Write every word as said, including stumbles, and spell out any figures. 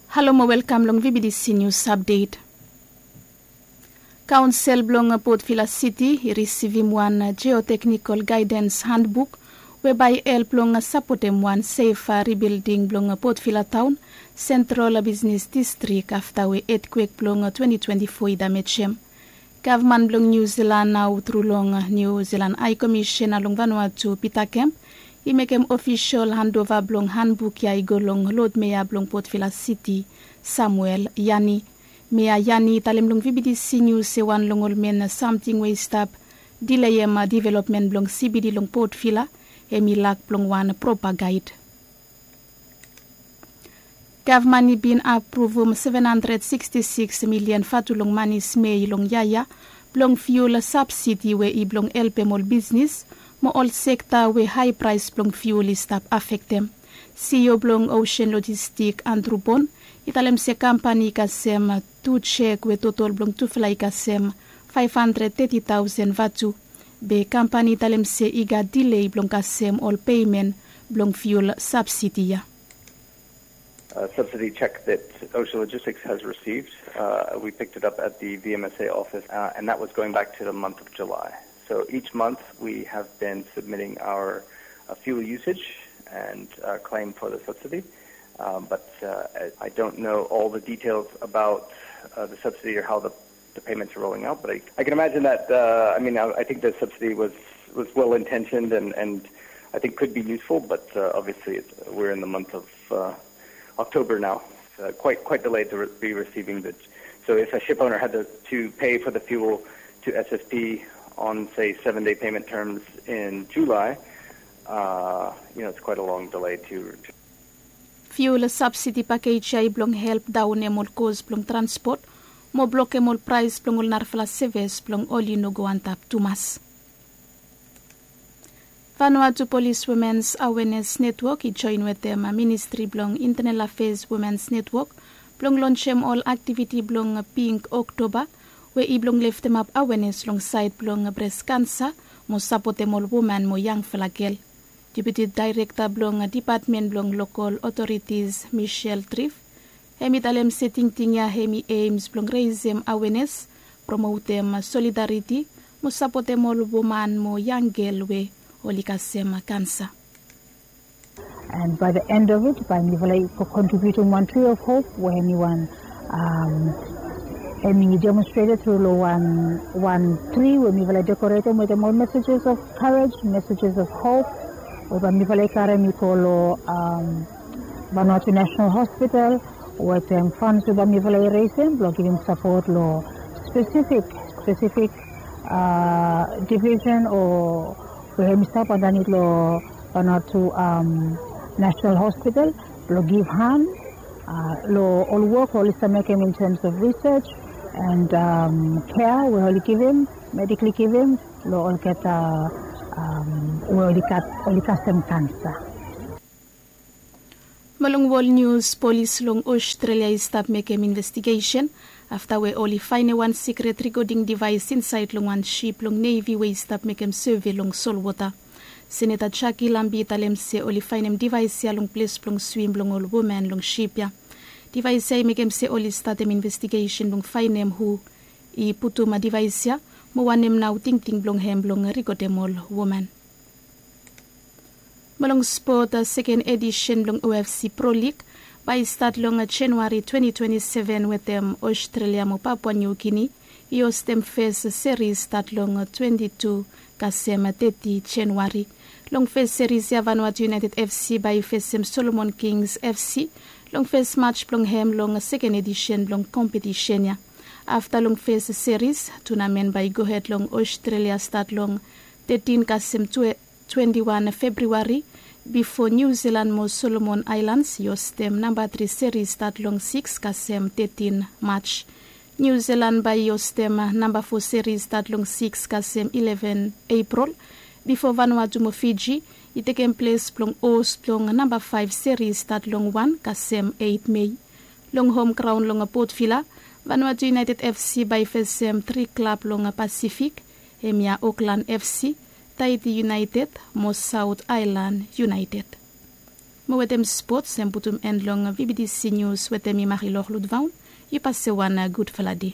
Halo mo welkam long vbdc nius apdet. Kaonsel blong potvila siti i risivim wan jeoteknikol gaedens handbuk we bae i help long sapotem wan sefa ribilding blong potvila taon sentrol bisnes distrik afta we etkwek blong twenti twenti fo i damejem. Gavman blong niu zilan nao tru long niu zilan hae komisen long vanua tu pita kemp i mekem ofisol handova blong hanbuk ya i go long lodmea blong potvila siti, samuel yani. Mea yani i talem long vbdc nius se wan long ol men samting we i stap dileem divelopmen blong sibidi long potvila hem i lak blong wan propa gaed. Gavman i bin apruvum seven handred siksti siks milian vatu long mani smei long yaya blong fiul sabsidi we i blong helpem ol bisnis mo ol sekta we hae praes blong fiul i stap afektem. Sio blong osen lojistik andru bon i talem se kampani i kasem tu jek we totol blong tufala i kasem faef handred teti taosen vatu. Be kampani i talem se i gat dilei blong kasem ol peimen blong fiul sabsidi ya. Subsidy check that Ocean Logistics has received. Uh, we picked it up at the V M S A office, uh, and that was going back to the month of July. So each month we have been submitting our uh, fuel usage and uh, claim for the subsidy. Um, but uh, I, I don't know all the details about uh, the subsidy or how the the payments are rolling out. But I, I can imagine that. Uh, I mean, I, I think the subsidy was was well intentioned and and I think could be useful. But uh, obviously, it's, we're in the month of uh, October now. Uh, quite quite delayed to re- be receiving the. So if a ship owner had to, to pay for the fuel to S S P on say seven day payment terms in July, uh, you know, it's quite a long delay to. to Fiul sabsidi pakej ya i blong help daonem ol kos blong transpot mo blokem ol praes blong ol narafala seves blong oli no go antap tumas. Vanuatu Polis Womens Awenes Netwok i joen wetem Ministri blong Intenal Afes Womens Netwok blong lonjem ol aktiviti blong Pink Oktoba we i blong leftemap awenes long saed blong bres kansa mo sapotem ol woman mo yangfala gel. Deputi Daerekta blong Dipatmen blong Lokol Otoritis Michelle Trif hem i talem se tingting ya hem i eims blong resem awenes, promotem solidariti mo sapotem ol woman mo yang gel we oli kasem kansa. And by the end of it, by mifala i contributing one tree of hope we hemi wan um, hemi demonstrated through lo one one tree we mifala decorated with more messages of courage, messages of hope. We by mifala i carry mi go lo um, Vanuatu National Hospital with um, funds we by mifala i raising blong giving support lo specific specific uh, division or we hemi stop underneath lo Vanuatu um, National Hospital blong give hand uh, lo ol work we oli stap mekem in terms of research and um, care we oli givim, medically givim lo olgeta um, we oli gat oli kasem kansa. Mo long wol nius, polis long Australia i stap mekem investigesen afta we oli faenem wan sikret rikoding divaes insaed long wan sip blong nevi we i stap mekem seve long solwota. Seneta Jackie Lambie i talem se oli faenem divaes ya long ples blong swim blong ol woman long sip ya. Divaes ya i mekem se oli statem investigesen blong faenem hu i putum divaes ya mo wanem nao tingting blong hem blong rikodem ol woman. Mo long spot, seken edisen blong O F C Pro League bae i stat long Januari twenti twenti seven wetem Australia mo Papua New Guinea i hostem fes seris stat long twenti tu kasem teti Januari. Long fes seris ya Vanuatu United F C bae i fesem Solomon Kings F C long fes maj blong hem long seken edisen blong kompetisen ya. Afta long fes seris, tunamen bae i gohed long Australia stat long tetin kasem twenti wan Februari bifo Niu Zilan mo Solomon Aelans i hostem namba tri seris stat long sikis kasem tetin Maj. Niu Zilan bae i hostem namba fo seris stat long sikis kasem ileven Epril bifo Vanuatu mo Fiji i tekem ples blong hos blong namba faef seris stat long wan kasem eit Mei. Long hom graon long Port Vila, Vanuatu United F C bae i fesem tri klab long Pasifik, hemia Auckland F C, Tahiti United mo South Island United. Mo wetem spots em putum en long vibidisi nius wetem mi mari loh ludvaon. Yu pase wan gudfala de.